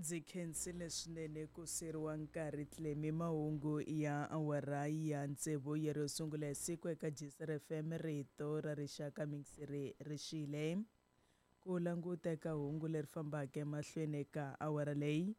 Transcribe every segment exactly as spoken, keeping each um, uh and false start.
Ndzi khensile swinene ku siriwa nkarhi Clemy. Mahungu ya awara ya tsevu ya ro sungula hi siku eka G C R F M, rito ra rixaka mixiri rixile. Ku languta eka hungu leri fambaka emahlweni eka awara leyi,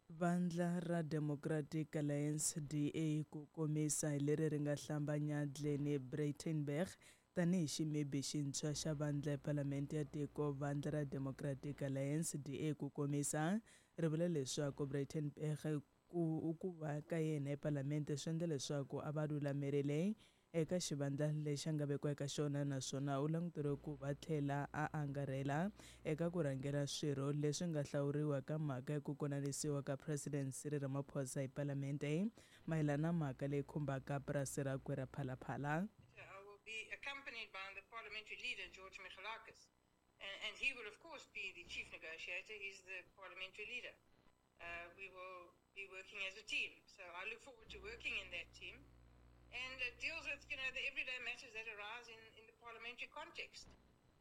Vandla ra Democratic Alliance, D A ku komisa, hi leri ri nga hlambanya Glynne Breitenberg tanihi ximibi xintshwa xa vandla ePalamente ya tiko. Vandla ra Democratic Alliance, D A ku komisa, ri vula leswaku Breitenberg ku ku va ka yena ePalamente swi endla leswaku a va lulamerile eka xivandla lexi a nga vekiwa eka xona, naswona u languteriwe ku va tlhela a angarhela eka ku rhangela swirho leswi nga hlawuriwa ka mhaka ya ku konanisiwa ka President Cyril Ramaphosa hi Palamente mayelana na mhaka leyi khumbaka purasi rakwe ra Phalaphala. I will be accompanied by the parliamentary leader, George Michalakis. And, and he will, of course, be the chief negotiator. He's the parliamentary leader. Uh, we will be working as a team. So I look forward to working in that team. And it deals with, you know, the everyday matters that arise in, in the parliamentary context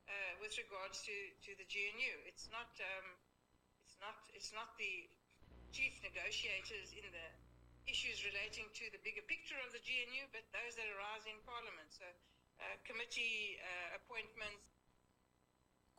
uh, with regards to, to the G N U. It's not, um, it's not, it's not the chief negotiators in the issues relating to the bigger picture of the G N U, but those that arise in Parliament. So, uh, committee uh, appointments.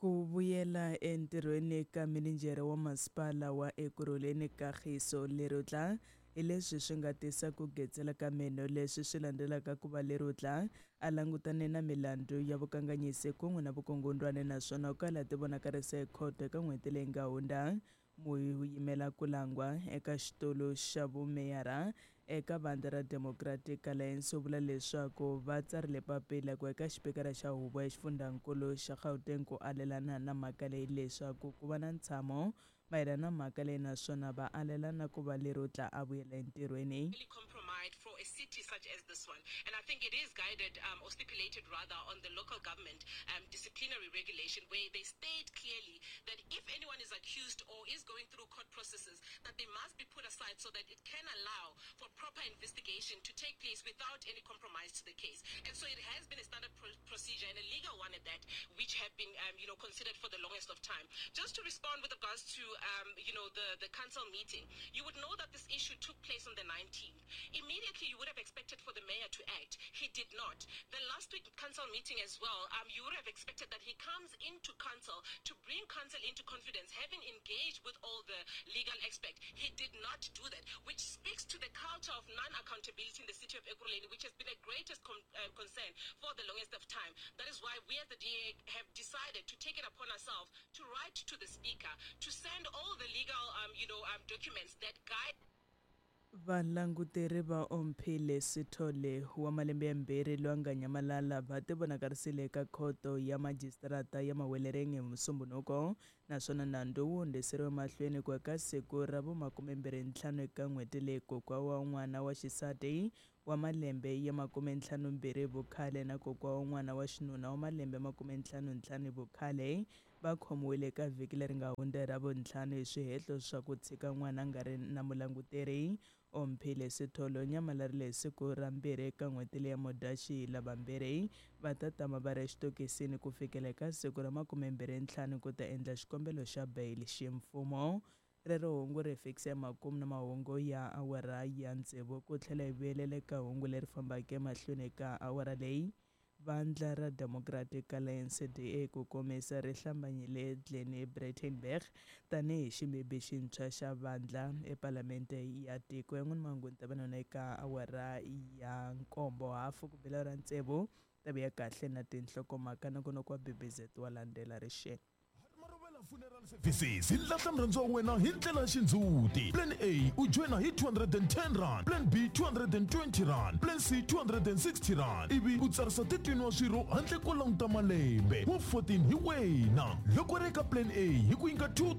Ku vuyela entirhweni ka mininjhere wa masipala wa Ekurhuleni Kagiso Lerutla hi leswi swi nga tisa ku getsela ka meno, leswi swi landzelaka ku va Lerutla a langutane na milandzu ya vukanganyisi kun'we na vukungundwani, naswona u kala ti vonakarisa ekhoto eka n'hweti leyi nga hundza. Muyimela ku langwa eka xitulu xa vumeyara eka vandla ra Democratic Alliance u vula leswaku va tsarile papila ku eka xipikara xa huvo ya xifundzankulu xa Gauteng ku alelana na mhaka leyi, leswaku ku va na ntshamo mayelana na mhaka leyi, naswona va alelana ku va Lerutla a vuyela entirhweni. Really compromised for a city such as this one. And I think it is guided um, or stipulated rather on the local government um, disciplinary regulation, where they state clearly that if anyone is accused or is going through court processes, that they must be put aside so that it can allow for proper investigation to take place without any compromise to the case. And so it has been a standard pro- procedure and a legal one at that, which have been um, you know, considered for the longest of time. Just to respond with regards to um, you know, the, the council meeting, you would know that this issue took place on the nineteenth. Immediately, you would have expected for the mayor to act. He did not. The last week council meeting as well, um, you would have expected that he comes into council to bring council into confidence, having engaged with all the legal experts. He did not do that, which speaks to the culture of non-accountability in the city of Ekurhuleni, which has been a greatest con- uh, concern for the longest of time. That is why we as the D A have decided to take it upon ourselves to write to the speaker, to send all the legal, um, you know, um, documents that guide Valanguteri va Omphile Sithole wa malembe yambirhi loyi a nga nyamalala va tivonakarisile eka khoto ya majisitarata ya Mahwelereng hi Musumbhunuko, naswona nandzu wu hundziseriwe mahlweni ku eka siku ra vumakumembirhi ntlhanu eka n'hweti leyi. Kokwa wa n'wana wa xisati wa malembe ya makumentlhanu mbirhi hi vukhale na kokwa wa n'wana wa xinuna wa malembe makumentlhanu ntlhanu hi vukhale va khomiwile eka vhiki leri nga hundza hi Ravuntlhanu hi swihehlo swa ku tshika n'wana a nga ri na mulanguteri. Omphile Sithole u nyamalarile hi siku ra mbirhi eka n'hweti leya Mudyaxihi. Lavambirhi va ta tama va ri exitokisini ku fikela eka siku ra makumembirhi ntlhanu ku ta endla xikombelo xa bail ximfumo. Rero hungu ri fikisa emakumu na mahungu ya awara ya tsevu. Ku tlhela hi vuyelela eka hungu leri fambaka emahlweni eka awara leyi, vandla ra Democratic Alliance, D A ku komisa, ri hlambanyile Glynne Breitenberg tanihi ximibi xintshwa xa vandla ePalamente ya tiko. Yan'wana mahungu ni ta va na eka awara ya nkombo hafu ku bela ra tsevu. Ta vuya kahle na tinhlokomhaka. Nongonoko wa B B Z wa landzela rixeni. Marovela Funeral Services hi lahla murhandziwa wa wena hi ndlela ya xindzhuti. Plan A, u joyina hi two hundred and ten rand, plan B two hundred and twenty rand, plan C two hundred and sixty rand, ivi u tsarisa thirteen wa swirho handle ko languta malembe wa fourteen hi wena. Loko ri eka plan A hi ku nyika two